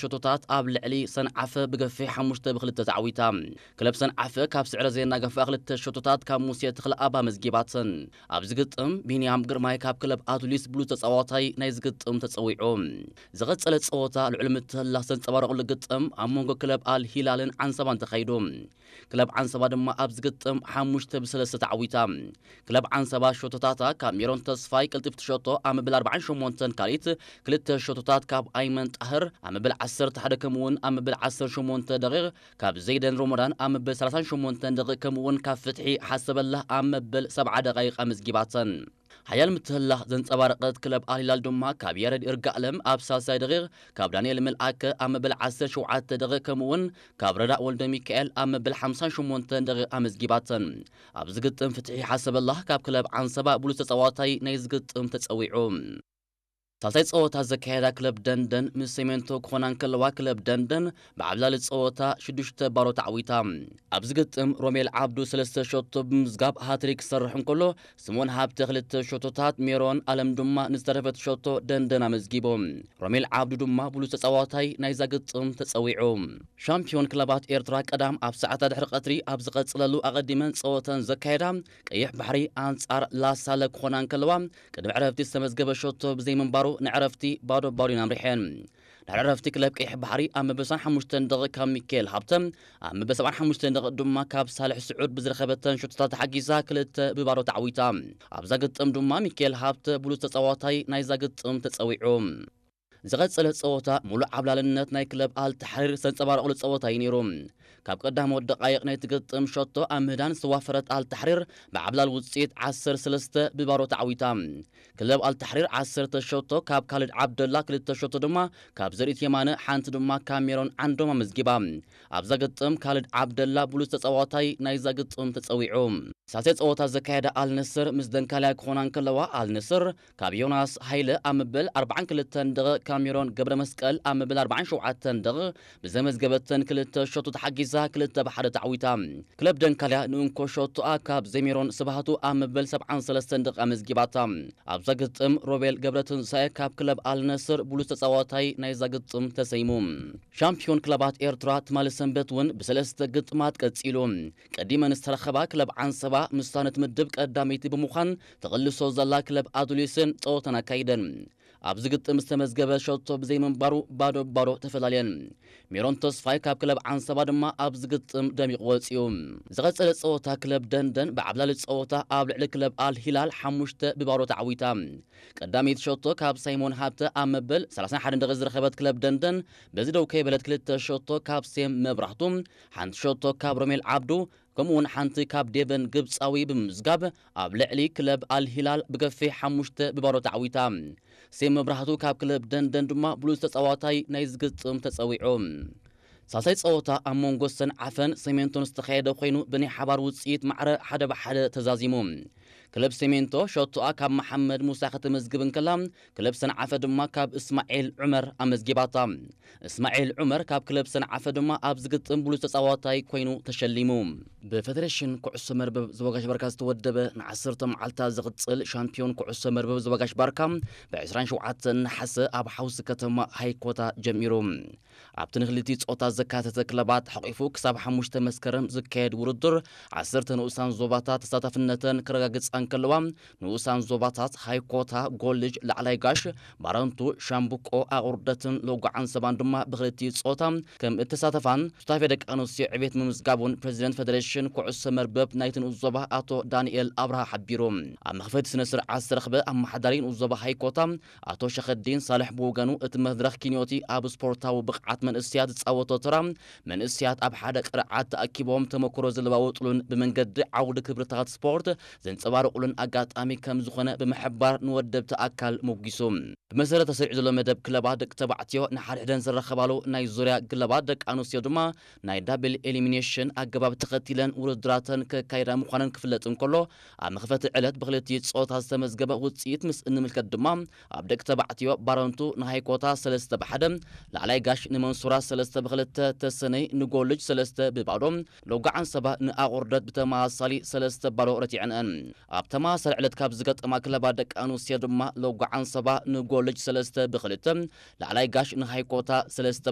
ሸቶታት ኣብ ልዕሊ ሰንዓፈ ብገፊሕ ሓሙሽተ ብክልተ ተዓዊታ። ክለብ ሰንዓፈ ካብ ስዕረ ዘየናገፋ ክልተ ሸቶታት ካብ ሙሴ ተኽለኣብ ኣመዝጊባተን። ኣብዚ ግጥም ቢንያም ግርማይ ካብ ክለብ ኣቱሊስ ብሉጽ ተጻዋታይ ናይ ዝግጥም ተጸዊዑ። ዝቐጸለ ጸወታ ልዑል ምትህልላኽ ዘንጸባረቑሉ ግጥም ኣብ መንጎ ክለብ ኣል ሂላልን ዓንሰባን ተኻይዱ። ክለብ ዓንሰባ ድማ ኣብዚ ግጥም ሓሙሽተ ብሰለስተ ተዓዊታ። ክለብ ዓንሰባ ሸቶታታ ካብ ሜሮን ተስፋይ ቅልጥፍቲ ሸቶ ኣብ መበል ኣርባዓን ሸሞንተን ካልኢት፣ ክልተ ሸቶታት ካብ ኣይመን ጣህር ኣብ መበል ዓሰርተ ሓደ ከምኡውን ኣብ መበል ዓሰርተ ሸሞንተ ደቂቕ ካብ ዘይደን ሮሞዳን ኣብ መበል ሰላሳን ሸሞንተን ደቂቕ ከምኡውን ካብ ፍትሒ ሓሰበላህ ኣብ መበል ሰብዓ ደቃይቕ ኣመዝጊባተን። ሓያል ምትህላኽ ዘንጸባረቐት ክለብ ኣልሂላል ድማ ካብ ያረድ ይርጋለም ኣብ ሳልሳይ ደቂቕ፣ ካብ ዳንኤል መልኣከ ኣብ መበል ዓሰርተ ሸውዓተ ደቂቕ ከምኡውን ካብ ረዳእ ወልደ ሚካኤል ኣብ መበል ሓምሳን ሸሞንተን ደቂቕ ኣመዝጊባተን። ኣብዚ ግጥም ፍትሒ ሓሰበላህ ካብ ክለብ ዓንሰባ ብሉጽ ተጻዋታይ ናይ ዝግጥም ተጸዊዑ። ሳልሳይ ጸወታ ዘካየዳ ክለብ ደንደን ምስ ሴሜንቶ ክኾና እንከለዋ ክለብ ደንደን ብዓብላሊ ጸወታ ሽዱሽተ ባሮ ተዓዊታ። ኣብዚ ግጥም ሮሜል ዓብዱ ሰለስተ ሸቶ ብምዝጋብ ሃትሪክ ክሰርሕ እንከሎ ስምኦን ሃብተ ክልተ ሸቶታት ሜሮን ኣለም ድማ ንዝተረፈት ሸቶ ደንደን ኣመዝጊቦም። ሮሜል ዓብዱ ድማ ብሉጽ ተጻዋታይ ናይዛ ግጥም ተጸዊዑ። ሻምፒዮን ክለባት ኤርትራ ቀዳም ኣብ ሰዓታት ድሕሪ ቀትሪ ኣብ ዝቐጽለሉ ኣቐዲመን ጸወተን ዘካየዳ ቀይሕ ባሕሪ ኣንጻር ላሳለ ክኾና እንከለዋ ቅድሚ ዕረፍቲ ዝተመዝገበ ሸቶ ብዘይምንባሩ ንዕረፍቲ ባዶ ባዶ ኣምሪሐን። ድሕሪ ዕረፍቲ ክለብ ቀይሕ ባሕሪ ኣብ መበል ሰብዓን ሓሙሽተን ደቂቕ ካብ ሚካኤል ሃብተ ኣብ መበል ሰብዓን ሓሙሽተን ደቂቕ ድማ ካብ ሳልሕ ስዑድ ብዝረኸበተን ሸቶታት ተሓጊዛ ክልተ ብባዶ ተዓዊታ። ኣብዛ ግጥም ድማ ሚካኤል ሃብተ ብሉጽ ተጻዋታይ ናይዛ ግጥም ተጸዊዑ። ዝቐጸለ ጸወታ ሙሉእ ዓብላልነት ናይ ክለብ ኣልተሕሪር ዘንጸባረቐሉ ጸወታ እዩ ነይሩ። ካብ ቀዳሞት ደቃይቕ ናይቲ ግጥም ሸቶ ኣብ ምህዳን ዝተዋፈረት ኣልተሕሪር ብዓብላል ውጽኢት ዓሰርተ ሰለስተ ብባዶ ተዓዊታ። ክለብ ኣልተሕሪር ዓሰርተ ሸቶ ካብ ካልድ ዓብደላ፣ ክልተ ሸቶ ድማ ካብ ዘርኢት የማነ፣ ሓንቲ ድማ ካብ ሜሮን ዓንዶም ኣመዝጊባ። ኣብዛ ግጥም ካልድ ዓብደላ ብሉጽ ተጻዋታይ ናይዛ ግጥም ተጸዊዑ። ሳልሳይ ጸወታ ዘካየዳ ኣልነስር ምስ ደንካልያ ክኾና እንከለዋ ኣልነስር ካብ ዮናስ ሃይለ ኣብ መበል ኣርባዓን ክልተን ደቂቕ ካብ ሜሮን ገብረ መስቀል ኣብ መበል ኣርባዓን ሸውዓተን ደቂቕ ብዘመዝገበተን ክልተ ሸቶ ተሓጊዛ ክልተ ብሓደ ተዓዊታ። ክለብ ደንካልያ ንእንኮ ሸቶኣ ካብ ዘሜሮን ስብሃቱ ኣብ መበል ሰብዓን ሰለስተን ደቂቕ ኣመዝጊባታ። ኣብዛ ግጥም ሮቤል ገብረትንሳኤ ካብ ክለብ ኣልነስር ብሉጽ ተጻዋታይ ናይዛ ግጥም ተሰይሙ። ሻምፒዮን ክለባት ኤርትራ ትማሊ ሰንበት እውን ብሰለስተ ግጥማት ቀጺሉ። ቀዲመን ዝተረኸባ ክለብ ዓንሰባ ምስታ ነቲ ምድብ ቀዳመይቲ ብምዃን ተቕልሶ ዘላ ክለብ ኣዱሊስን ጸወተን ኣካይደን። ኣብዚ ግጥም ዝተመዝገበ ሸቶ ብዘይምንባሩ ባዶ ባዶ ተፈላልየን። ሜሮን ተስፋይ ካብ ክለብ ዓንሰባ ድማ ኣብዚ ግጥም ደሚቑ ወጺኡ። ዝቐጸለ ጸወታ ክለብ ደንደን ብዓብላሊ ጸወታ ኣብ ልዕሊ ክለብ ኣል ሂላል ሓሙሽተ ብባዶ ተዓዊታ። ቀዳመይቲ ሸቶ ካብ ሳይሞን ሃብተ ኣብ መበል ሰላሳን ሓደን ደቂቕ ዝረኸበት ክለብ ደንደን በዚ ደው ከይበለት ክልተ ሸቶ ካብ ሴም መብራህቱ፣ ሓንቲ ሸቶ ካብ ሮሜል ዓብዱ ከምኡውን ሓንቲ ካብ ዴቨን ግብጻዊ ብምምዝጋብ ኣብ ልዕሊ ክለብ ኣል ሂላል ብገፊሕ ሓሙሽተ ብባዶ ተዓዊታ። ሴም መብራህቱ ካብ ክለብ ደንደን ድማ ብሉጽ ተጻዋታይ ናይ ዝግጥም ተጸዊዑ። ሳልሳይ ጸወታ ኣብ መንጎ ሰንዓፈን ሰሜንቶን ዝተኻየደ ኮይኑ ብናይ ሓባር ውጽኢት ማዕረ ሓደ ብሓደ ተዛዚሙ። ክለብ ሰሜንቶ ሸቶኣ ካብ መሓመድ ሙሳ ከተመዝግብ እንከላ ክለብ ሰንዓፈ ድማ ካብ እስማዒል ዑመር ኣመዝጊባታ። እስማዒል ዑመር ካብ ክለብ ሰንዓፈ ድማ ኣብ ዝግጥም ብሉጽ ተጻዋታይ ኮይኑ ተሸሊሙ። ብፌደሬሽን ኩዕሶ መርበብ ዞባ ጋሽ ባርካ ዝተወደበ ንዓሰርተ መዓልታት ዝቕጽል ሻምፒዮን ኩዕሶ መርበብ ዞባ ጋሽ ባርካ ብ ዕስራን ሸውዓተን ነሓሰ ኣብ ሓውሲ ከተማ ሃይኮታ ጀሚሩ። ኣብቲ ንክልቲኡ ጾታ ዘካተተ ክለባት ሓቂፉ ክሳብ ሓሙሽተ መስከረም ዝካየድ ውድድር ዓሰርተ ንኡሳን ዞባታት ተሳታፍነተን ክረጋግጻ እንከለዋ ንኡሳን ዞባታት ሃይኮታ፣ ጎልጅ፣ ላዕላይ ጋሽ፣ ባረንቱ፣ ሻምብቆ፣ ኣቑርደትን ሎጓ ዓንሰባን ድማ ብክልቲኡ ጾታ ከም እተሳተፋን ሱታፌ ደቂ ኣንስትዮ ዕቤት ምምዝጋቡን ፕሬዚደንት ፌደሬሽን ኩዕሶ መርበብ ናይቲ ንኡስ ዞባ ኣቶ ዳንኤል ኣብርሃ ሓቢሩ። ኣብ መኽፈቲ ስነ ስርዓት ዝተረኽበ ኣመሓዳሪ ንኡስ ዞባ ሃይኮታ ኣቶ ሸኸዲን ሳልሕ ብወገኑ እቲ መድረኽ ኪንዮቲ ኣብ ስፖርታዊ ብቕዓት መንእስያት ዝጻወቶ ተራ መንእስያት ኣብ ሓደ ቅርዓት ተኣኪቦም ተመክሮ ዝለዋወጥሉን ብመንገዲ ዓውዲ ክብርታት ስፖርት ዘንጸባርቑሉን ኣጋጣሚ ከም ዝኾነ ብምሕባር ንወደብቲ ኣካል ሞጊሱ። ብመሰረት ተሰሪዑ ዘሎ መደብ ክለባት ደቂ ተባዕትዮ ንሓድሕደን ዝረኸባሉ ናይ ዙርያ ግለባት ደቂ ኣንስትዮ ድማ ናይ ዳብል ኤሊሚኔሽን ኣገባብ ተኸቲለን ውድድራተን ከካይዳ ምዃነን ክፍለጥ እንከሎ ኣብ መኽፈቲ ዕለት ብክልቲኡ ጾታ ዝተመዝገበ ውጽኢት ምስ እንምልከት ድማ ኣብ ደቂ ተባዕትዮ ባረንቱ ንሃይኮታ ሰለስተ ብሓደ፣ ላዕላይ ጋሽ ንመንሱራ ሰለስተ ብክልተ፣ ተሰነይ ንጎልጅ ሰለስተ ብባዶ፣ ሎጋ ዓንሰባ ንኣቑርደት ብተመሳሳሊ ሰለስተ ባዶ ረቲዐንአን። ኣብ ተመሳሳሊ ዕለት ካብ ዝገጠማ ክለባት ደቂ ኣንስትዮ ድማ ሎጋ ዓንሰባ ንጎልጅ ሰለስተ ብክልተ፣ ላዕላይ ጋሽ ንሃይኮታ ሰለስተ